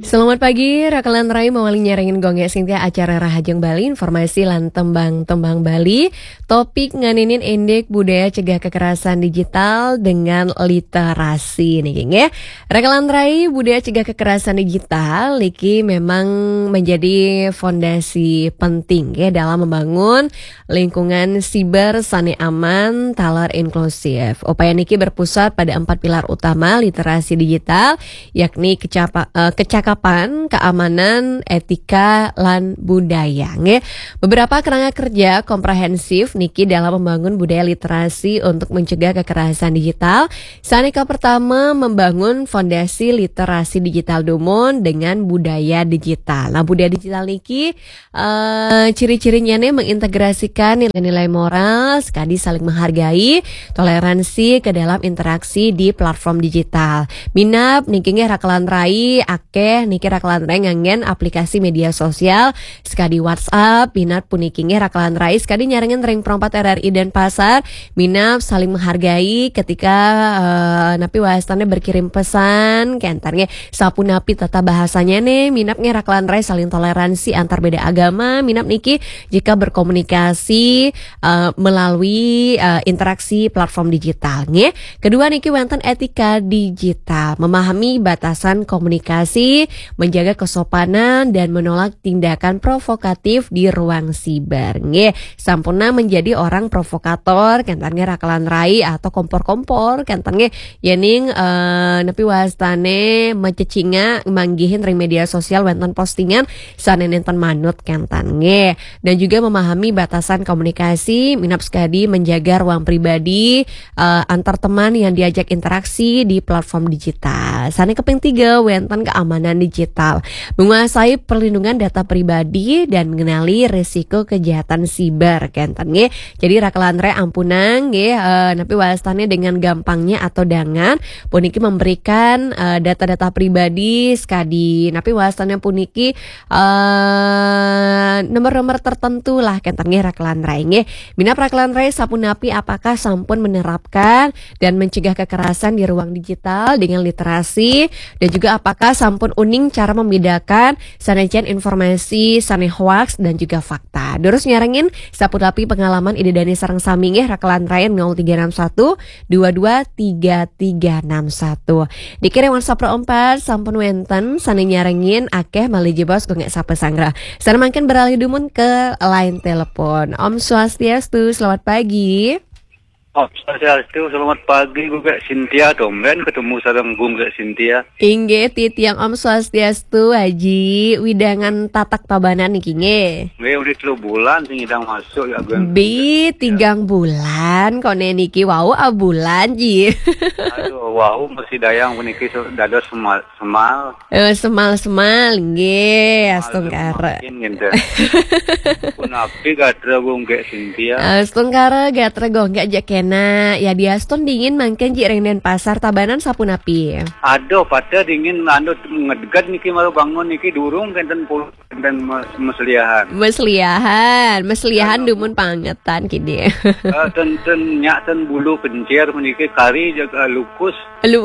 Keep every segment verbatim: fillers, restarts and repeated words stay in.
Selamat pagi, Rakalan Rai mawali nyarengin Gung Gek Sintia acara Rahajeng Bali, informasi lan tembang-tembang Bali. Topik nganinin indik budaya cegah kekerasan digital dengan literasi niki nggih. Rakalan Rai, budaya cegah kekerasan digital niki memang menjadi fondasi penting nggih dalam membangun lingkungan siber sane aman, taler inklusif. Upaya niki berpusat pada empat pilar utama literasi digital, yakni kecapa-, eh, kecakapan, keamanan, etika, lan budaya. Nggih. Beberapa kerangka kerja komprehensif niki dalam membangun budaya literasi untuk mencegah kekerasan digital. Sane ka pertama, membangun fondasi literasi digital dumun dengan budaya digital. Nah, budaya digital niki eh, ciri-cirinya nih mengintegrasikan nilai-nilai moral, sekadi saling menghargai, toleransi ke dalam interaksi di platform digital. Minab niki nggih Rakalan Rai akeh niki Rakalan Rai nganggen aplikasi media sosial sekadi WhatsApp, minab puniki nggih Rakalan Rai sekadi nyarengin ring Pro empat R R I Denpasar, minab saling menghargai ketika eh, napi wastane berkirim pesan, kenten nggih sapunapi tata bahasanya nih, minab nggih Rakalan Rai saling toleransi antar beda agama, minab niki jika berkomunikasi eh, melalui eh, interaksi platform digital nggih. Kedua niki wenten etika digital, memahami batasan komunikasi, menjaga kesopanan dan menolak tindakan provokatif di ruang siber nggih. Sampun menjadi orang provokator, kenten nggih Rakalan Rai atau kompor-kompor, kenten nggih yening eh, napi wastane macecinga manggihin ring media sosial wenten postingan sane nenten manut kenten nggih. Dan juga memahami batasan komunikasi, minab sekadi menjaga ruang pribadi eh, antar teman yang diajak interaksi di platform digital. Sane kaping tiga, wenten keamanan digital. Menguasai perlindungan data pribadi dan mengenali risiko kejahatan siber kenten nggih. Jadi Rakalan Rai ampunang nggih eh, napi wastane dengan gampangnya atau dengan puniki memberikan eh, data-data pribadi sekadi napi wastane puniki eh, nomor-nomor tertentu lah kenten nggih Rakalan Rai nggih. Minab Rakalan Rai sapunapi, apakah sampun menerapkan dan mencegah kekerasan di ruang digital dengan literasi, dan juga apakah sampun uning cara membedakan sane jan informasi sane hoaks dan juga fakta. Durus nyarengin sapunapi pengalaman Ida Dani sareng sami nggih Rakalan Rai nol tiga enam satu dua dua tiga tiga enam satu. Dikirim WhatsApp Pro empat sampun wenten sane nyarengin akeh malih jebos Gung Gek sapa sangra. Sane mangkin beralih dumun ke line telepon. Om Swastiastu, selamat pagi. Om Swastiastu, selamat pagi Gung Gek Sintia. Tumben ketemu sareng Gung Gek Sintia. Inggih, titiang Om Swastiastu, Aji. Widangan tatak tabanan niki nggih. Nggih, udah telu bulan sing idang masuk ya, Gung. Bi, tigang bulan, kone niki wau abulan ji. Aduh, wau masih dayang puniki su-, dados semal, semal. Eh, semal-semal, nggih, astungkara. Makin gitu. Punapi gatra Gung Gek Sintia. Astungkara gatra Gung Gek aja kena. Ya diastun dingin mangkin ji ring Denpasar, tabanan sapunapi. Aduh, pada dingin anu ngedget niki malu bangun niki durung kenten pul-, kenten mes-, mesliahan. Mesliahan, mesliahan dumun pangetan kini. Eh, ten, ten nyak ten bulu kencir meniki kari jaga lukus. Lu.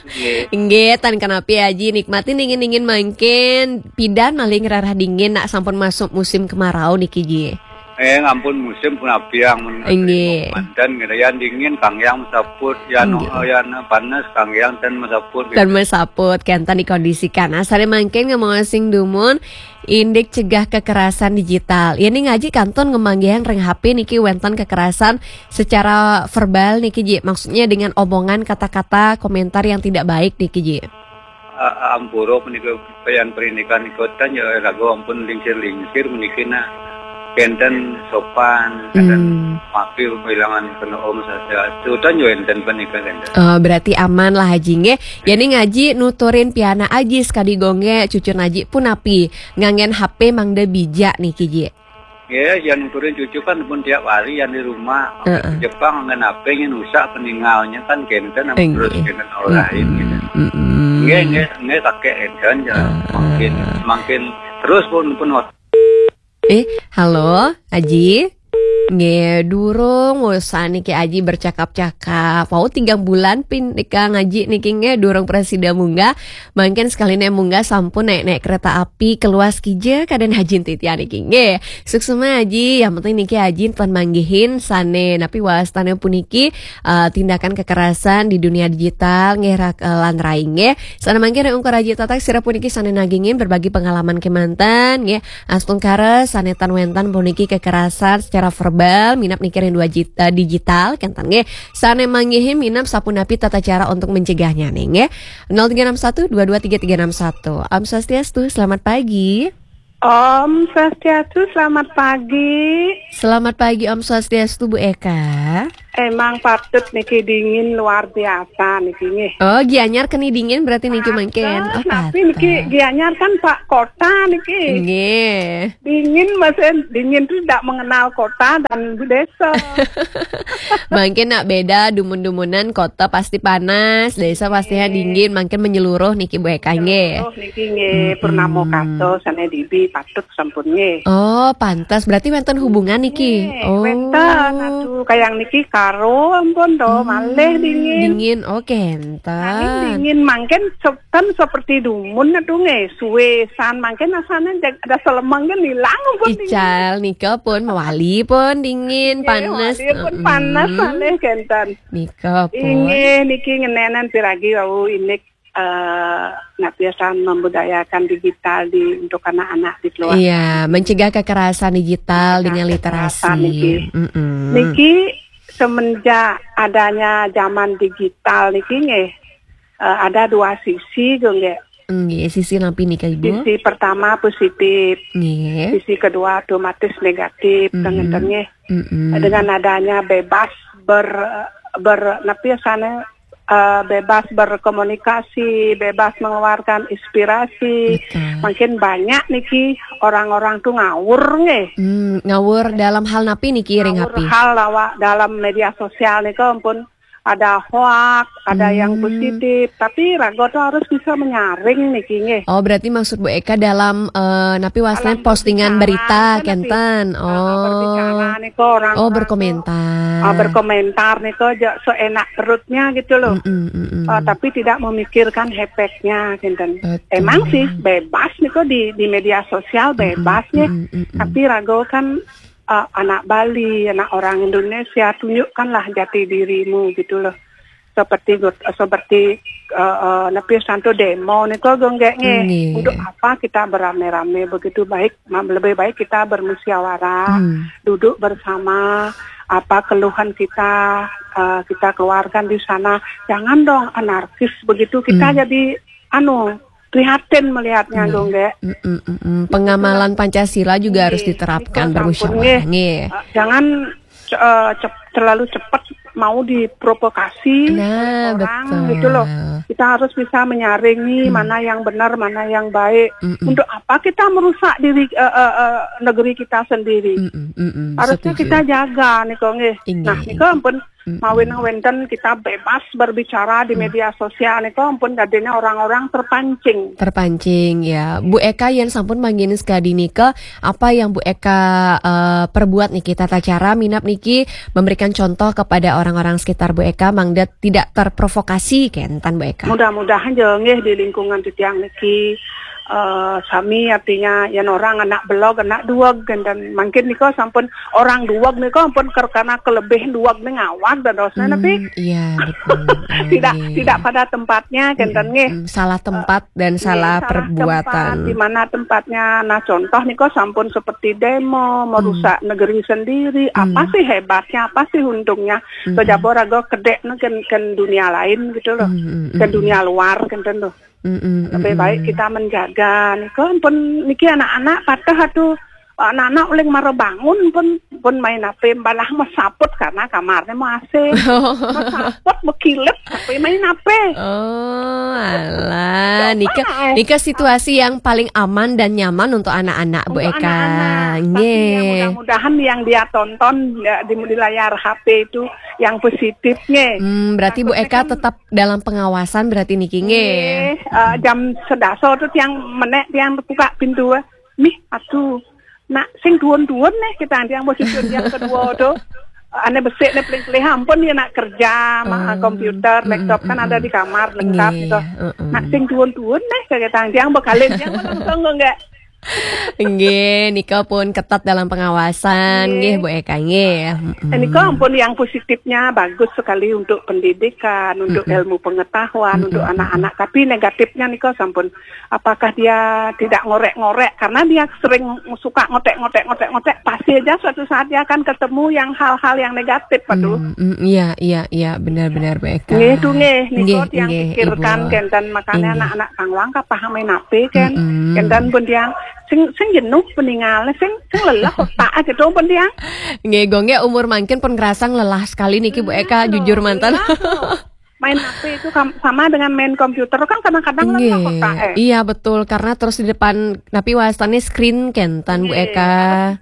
Nggih. Nggih, tan kenapi Aji nikmati dingin-dingin mangkin. Pidan malih ngrarah dingin nak sampun masuk musim kemarau niki ji. Eh, ampun musim punapi yang men-, nggih. Manten gitu. Yang dingin kang yang mesaput, yang, nggih, yang panas kang yang ten mesaput gitu. Ten mesaput, kenten dikondisikan. Asale mangkin ngemosing dumun indik cegah kekerasan digital. Ya ning Aji kantun ngemanggihan ring H P niki wenten kekerasan secara verbal niki ji. Maksudnya dengan omongan, kata-kata, komentar yang tidak baik niki ji. A-, ampura menika payan perindikan ikotan ya raga ampun lingsir-lingsir meniki nah. Kenten sopan, kenten, hmm, mapi bilangan kena om saja. Tutan yo enten penika kenten. Oh, berarti aman lah Aji nggih. Ya ning Aji nuturin piana Aji sekadi Gung Gek, cucun Aji punapi nganggen H P mangda bijak niki ji. Nggih, yang nuturin cucu kan pun tiap hari yang di rumah. Heeh. Jepang nganggen H P nyen rusak peninggalnya kan kenten. Nggih. Terus kenten olahin gitu. Mm-mm. Nggih, nggih, nggih kakek enten ya. Heeh. Makin, makin terus pun, pun Eh, halo, Aji? Nggih, durung usah niki Aji bercakap-cakap. Wau tigang bulan pin nika ngaji niki nggih, durung prasida munggah. Mangkin sekali ne munggah sampun naik-naik kereta api keluas kija kaden Aji titiang niki nggih. Suksma Aji, yang penting niki Aji tan manggihin sane napi wastane puniki, eh, tindakan kekerasan di dunia digital nggih rak, eh, lan rai nggih. Sane mangkin ungkur Aji tatak sira puniki sane nagingin berbagi pengalaman kemanten nggih. Astungkara sane tan wentan puniki kekerasan secara verbal minap niki ring dua jit-, eh, digital kenten nggih. Sane manggihin minap sapunapi tata cara untuk mencegahnya nih nggih. Nol tiga enam satu dua dua tiga tiga enam satu. Om Swastiastu, selamat pagi. Om Swastiastu, selamat pagi. Selamat pagi Om Swastiastu Bu Eka. Emang patut niki dingin luar biasa niki nggih. Oh, Gianyar keni dingin berarti niki mangkin. Oh, tapi niki patut. Gianyar kan Pak Kota niki. Nggih. Dingin, maksudnya dingin tuh tidak mengenal kota dan desa. Mangkin nak beda dumun-dumunan, kota pasti panas, desa pastinya dingin, mangkin menyeluruh niki Bu Eka nggih. Menyeluruh niki nggih, purnama kato sane dibi patut sampun nggih. Oh, pantas. Berarti wenten hubungan niki. Nggih, oh. Wenten, aduh, kayang niki karo ampun do, malih dingin. Dingin, oh, kenten. Angin dingin, mangkin se-, kan seperti dumun aduh nggih, suwe san mangkin asane jag-, ada selemeng kan hilang ampun dingin. Ical nika pun mawali pun dingin, nggih, panas. Mawali pun panas, mm-mm, malih kenten. Nika pun. Inggih, niki ngenenan piragi wau indik, eh, nak biasa membudayakan digital di, untuk anak-anak di keluarga. Iya, mencegah kekerasan digital dengan literasi. Mencegah kekerasan niki. Mm-mm. Niki semenjak adanya zaman digital niki nggih, eh, ada dua sisi nggih. Nggih, sisi napi nika, Ibu? Sisi pertama positif. Nggih. Sisi kedua otomatis negatif, mm-mm, ngenten nggih. Mm-mm. Dengan adanya bebas ber-, ber-, napi asane, eh, bebas berkomunikasi, bebas mengeluarkan inspirasi. Betul. Makin banyak niki orang-orang tuh ngawur nggih. Hmm, ngawur dalam hal napi niki ring Ngawur hapi? Hal lawa dalam media sosial nika ampun ada hoak, ada yang positif, tapi raga tuh harus bisa menyaring niki nggih. Oh, berarti maksud Bu Eka dalam, eh, napi wastane postingan berita kenten. Dalam berbicara, napi? Oh. Berbicara nika orang-orang tuh, berkomentar. Ah, berkomentar nika aja seenak perutnya gitu loh. Mm-mm, mm-mm. Ah, tapi tidak memikirkan efeknya kenten. Betul. Emang sih bebas nika di, di media sosial bebas nggih. Mm-mm, mm-mm. Tapi raga kan, eh, anak Bali, anak orang Indonesia, tunjukkanlah jati dirimu gitu loh. Seperti got-, seperti, eh, eh, napi santo demo nika nggih nggih. Nggih. Untuk apa kita beramai-ramai begitu, baik, ma-, lebih baik kita bermusyawarah, duduk bersama, apa keluhan kita, eh, kita keluarkan di sana. Jangan dong anarkis begitu, kita jadi anu, prihatin melihatnya, nggih, nggih. Mm-mm, mm-mm. Pengamalan Pancasila juga harus diterapkan, bermusyawarah, nggih. Nggih. Eh, jangan ce-, eh, cep-, terlalu cepat mau diprovokasi oleh orang gitu loh. Nah, betul. Kita harus bisa menyaringi mana yang benar, mana yang baik. Mm-mm. Untuk apa kita merusak diri, eh, eh, eh, negeri kita sendiri? Mm-mm, mm-mm. Harusnya setuju. Kita jaga nika nggih. Inggih, nah, nika inggih. Ampun Mawinang wenten kita bebas berbicara di media sosial nika ampun dadine orang-orang terpancing. Terpancing, ya. Bu Eka, yen sampun manggihin sekadi nika, apa yang Bu Eka, eh, perbuat niki, tata cara minab niki memberikan contoh kepada orang-orang sekitar Bu Eka mangda tidak terprovokasi kenten Bu Eka? Mudah-mudahan ya nggih di lingkungan titiang niki, eh, sami artinya yen orang anak belog, anak duweg kenten. Mangkin nika sampun orang duweg nika ampun ker-, karena kelebih duweg ning awak dadosne napi? Hmm, iya, betul. Tidak, nggih, tidak pada tempatnya kenten nggih. Mm, salah tempat dan salah perbuatan. Nggih, salah tempat, di mana tempatnya. Nah, contoh nika sampun seperti demo, merusak negeri sendiri. Apa sih hebatnya, apa sih untungnya? Kejaba raga kedek ken, ken dunia lain gitu loh. Ken dunia luar kenten loh. Mm-mm, mm-mm. Lebih baik kita menjaga. Nika pun niki anak-anak patah atuh, anak-anak uling mara bangun pun, pun main H P, balah mesaput karena kamarnya mau A C. Mesaput, bekilet, tapi main H P. Oh, alah. Coba, nika, eh, nika situasi yang paling aman dan nyaman untuk anak-anak, Bu Eka. Untuk anak-anak. Tapi ya, nggih, mudah-mudahan yang dia tonton ya, di, di layar H P itu yang positif, nggih. Hmm, berarti Bu Eka tetap dalam pengawasan berarti niki, nggih. Nggih, eh, jam sedasa tuh tiang menek, tiang buka pintu, eh. Mih, aduh, Nak sing duun-duun nih kita nanti yang mau cucu yang kedua tuh. Ane besik nih peling-peling ampun ya nak kerja, ma- komputer, laptop kan ada di kamar lengkap gitu. Nak sing duun-duun nih kayak tang yang bekalin yang langsung enggak. Nggih, nika pun ketat dalam pengawasan, nggih Bu Eka nggih. Mm-mm. Ini kok ampun yang positifnya bagus sekali untuk pendidikan, untuk ilmu pengetahuan, untuk anak-anak. Tapi negatifnya nih kok sampun, apakah dia tidak ngorek-ngorek karena dia sering suka ngotek-ngotek ngotek-ngotek, pasti aja suatu saat dia akan ketemu yang hal-hal yang negatif, Pak tuh. Mm, mm, iya, iya, iya, benar-benar Bu Eka. Nggih tuh nggih, nika Nggih, yang nggih, pikirkan Ibu. Kenten makanya Nggih. Anak-anak tanglang kapah main H P kan. Mm-mm. Kenten pun dia sing sing jenuh peninggal, sing sing lelah otak aja tuh pun dia. Nggih, Gung nggih, umur mangkin pun ngerasa lelah sekali niki Bu Eka, jujur mantan. Iya, tuh. Main H P itu kam- sama dengan main komputer kan kadang-kadang lelah Nggih. otak eh. Iya betul, karena terus di depan napi wastane screen kenten Bu Nggih, Eka.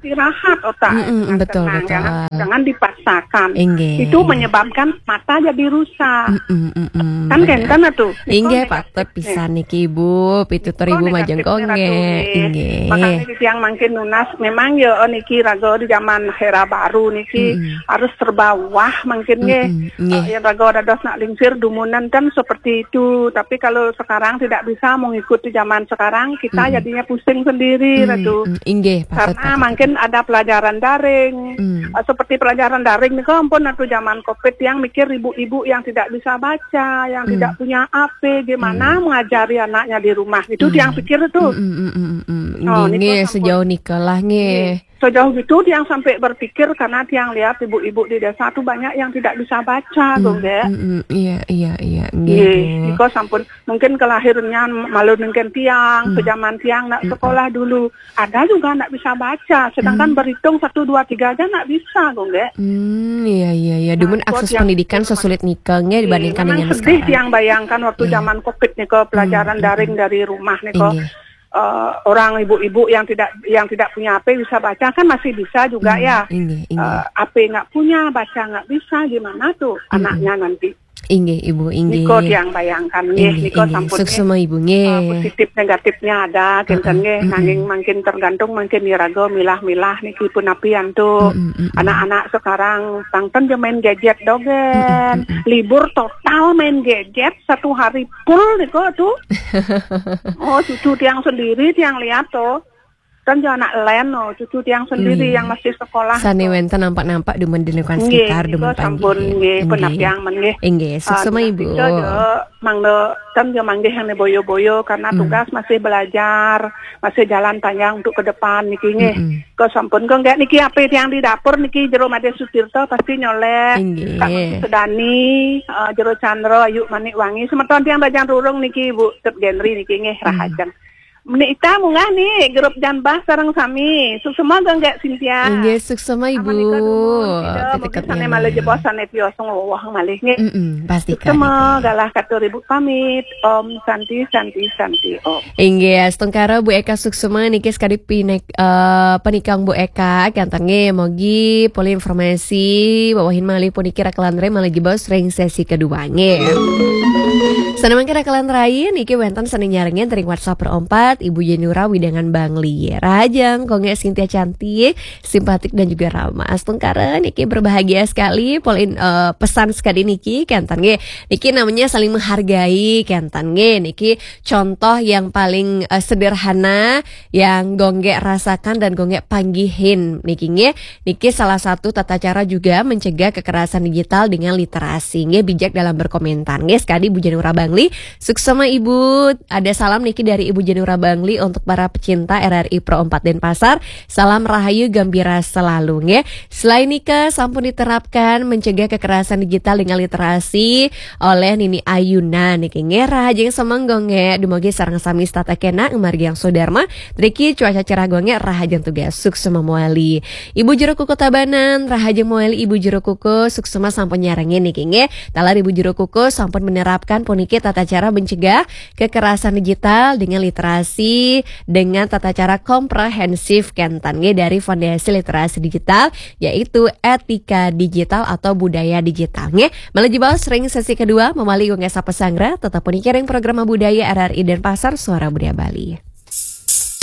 Istirahat otak. Mm-mm, Tenang, betul, jangan, betul. Jangan dipaksakan. Inggih. Itu menyebabkan mata jadi rusak. Mm-mm, mm-mm, Kan benar. Kenten tuh. Inggih, Itu patut pisan niki Ibu, pitutur Ibu majeng negatifnya Gung nggih. Ratu, Inggih. Makanya yang mangkin nunas memang ya niki raga di zaman era baru niki harus serba wah mangkin nggih. Mm-mm, nggih. Eh, yang raga dados nak lingsir dumunan kan seperti itu. Tapi kalau sekarang tidak bisa mengikuti zaman sekarang, kita jadinya pusing sendiri, Ratu. Mm, inggih, patut, Karena patut. Mungkin ada pelajaran daring. Mm. Eh, seperti pelajaran daring nih, ampun atau zaman covid yang mikir ibu-ibu yang tidak bisa baca, yang tidak punya H P, gimana mengajari anaknya di rumah. Itu yang pikir tuh. Mm, mm, mm, mm, mm. Oh, Nggih, niko nggih, sampun. Sejauh nika lah nggih. Sejauh itu dia sampai berpikir karena dia lihat ibu-ibu di desa tuh banyak yang tidak bisa baca, tuh, nggih. Mm, mm, iya, iya, iya. Nggih, Nggih, Bu. niko sampun mungkin kelahirannya malu nengken tiang, sejaman tiang nak sekolah dulu. Ada juga nak bisa baca, sedangkan berhitung satu dua tiga aja nak bisa, tuh, nggih. Hmm, iya, iya, iya. Dumun Nah, akses yang pendidikan sesulit nika nggih dibandingkan Memang dengan sedih sekarang. Yang bayangkan waktu zaman covid niko pelajaran daring dari rumah niko. Inggih. Eh, orang ibu-ibu yang tidak yang tidak punya H P bisa baca kan masih bisa juga ya. Inggih, inggih. Eh, H P nggak punya, baca nggak bisa, gimana tuh anaknya nanti? Inggih, Ibu, inggih. Niko yang bayangkan nggih, Inggih, niko inggih. Sampun nggih. Suksma Ibu nggih. Ah, positif negatifnya ada, kenten nggih, nanging mangkin tergantung mangkin iraga milah-milah niki punapi antuk. Anak-anak sekarang tangten dia main gadget dogen. Libur total main gadget satu hari full niko tuh. Oh, cucu tiang sendiri tiang lihat tuh. Kan dia anak len, oh, cucu tiang sendiri yang masih sekolah. Sane Tuh. Wenten nampak-nampak dumun di lingkungan Nggih, sekitar niko dumun sampun panggih. Nggih, penapiang men nggih. Inggih, suksma Ah, Ibu. Nika jo, mangda kan dia manggih yang boyo-boyo karena tugas masih belajar, masih jalan panjang untuk ke depan niki nggih. Kok sampun kok nggak niki apa yang di dapur niki jero Made Sutirta pasti nyolek. Inggih. Kak Sedani, eh, jero Chandra, Ayu Manik Wangi, semeton tiang Bajang Rurung niki Bu Tep Genri niki nggih rahajeng. Menika munggah nih grup Janbah sareng sami. Suksma nggih Cynthia. Inggih, suksma Ibu. Aman nika dumun, sida, Titik mungkin sane nyaman. Malih jebos sane tios ngowah malih nggih. Mm-mm, pasti Suksma kali. Galah katur Ibu pamit. Om Santi, Santi, Santi, Om. Inggih, astungkara Bu Eka Suksma niki sekadi pinek, eh, penikang Bu Eka, kenten nggih, mogi polih informasi wawahin malih puniki rakelan rai malih jebos ring sesi kedua nggih. Sané mangke rakelan rai niki wénten sané nyarengin ring WhatsApp Pro empat, Ibu Yenura Widangan Bangli. Rahajeng, Kongé Sintia cantik, simpatik dan juga ramah. Astungkara niki berbahagia sekali, polin, eh, pesan sekadi niki, kenten nggih. Niki namanya saling menghargai, kenten nggih. Niki contoh yang paling, eh, sederhana yang Gonggé rasakan dan Gonggé panggihin niki nggih. Niki salah satu tata cara juga mencegah kekerasan digital dengan literasi nggih, bijak dalam berkomentar nggih. Sekadi Ibu Yenura Bangli, suksma Ibu. Ada salam niki dari Ibu Yenura Bangli untuk para pecinta R R I Pro empat Denpasar. Salam rahayu gembira selalu nggih. Selain nika sampun diterapkan mencegah kekerasan digital dengan literasi oleh Nini Ayuna niki nggih, rahajeng semeng Gonggé, dumogi sareng sami setata kénak ngamargiang swadarma, triki cuaca cerah Gonggé, rahajeng tugas suksma mawali. Ibu Jero Kuku Tabanan, rahajeng mawali Ibu Jero Kuku, suksma sampun nyarengin niki nggih. Taler Ibu Jero Kuku sampun menerapkan puniki tata cara mencegah kekerasan digital dengan literasi, dengan tata cara komprehensif kenten nggih dari Fondasi Literasi Digital, yaitu etika digital atau budaya digital nggih. Malih jebos ring sesi kedua, mawali Gonggé sapa sanggra, tetep puniki ring program budaya R R I Denpasar, Suara Budaya Bali.